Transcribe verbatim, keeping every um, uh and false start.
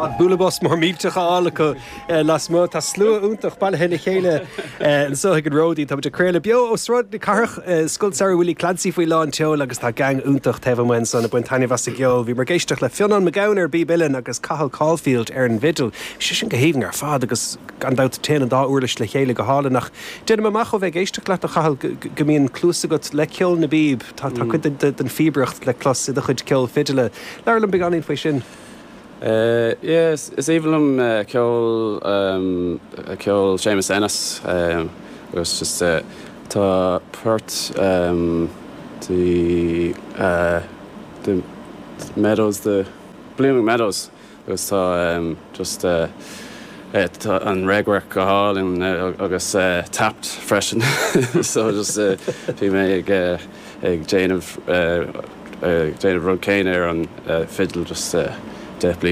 Bualadh bos mór millteach a fháil acu lasmuigh tá slua iontach bailithe le chéile anseo ag an Ródín Tá ag craoladh beo ó Sráid na Cathrach Scoil Samhraidh Willie Clancy faoi lán tseoil agus tá gang iontach taobh amuigh ansan ag baint taitneamh as an gceol. Bhí mar géisteach le Fionnán McGowan ar bpíb uilleann agus Cathal Caulfield ar an bhfidil. Sé sin go haoibhinn ar fad agus gan dabht téann an dá uirlis le chéile go hálainn ach déanaim amach ó bheith ag éisteacht leat a Chathail go mbíonn cluas agat le ceol na bpíob Tá tá cuid den phíobaireacht le clos i do chuid ceol fidile. Labhair liom beagáinín faoi sin. Uh, yes, is aoibhinn liom uh, ceol um, ceol Seamus Ennis um, agus just uh, tá port um, the uh, the meadows the Blooming Meadows agus tá um, just uh, eh, tá an ragwork go hálainn uh, agus uh, tapped freisin so just uh, bhí mé ag uh, ag déanamh uh, uh, déanamh rud céanna ar an uh, fiddle just uh, deich bliana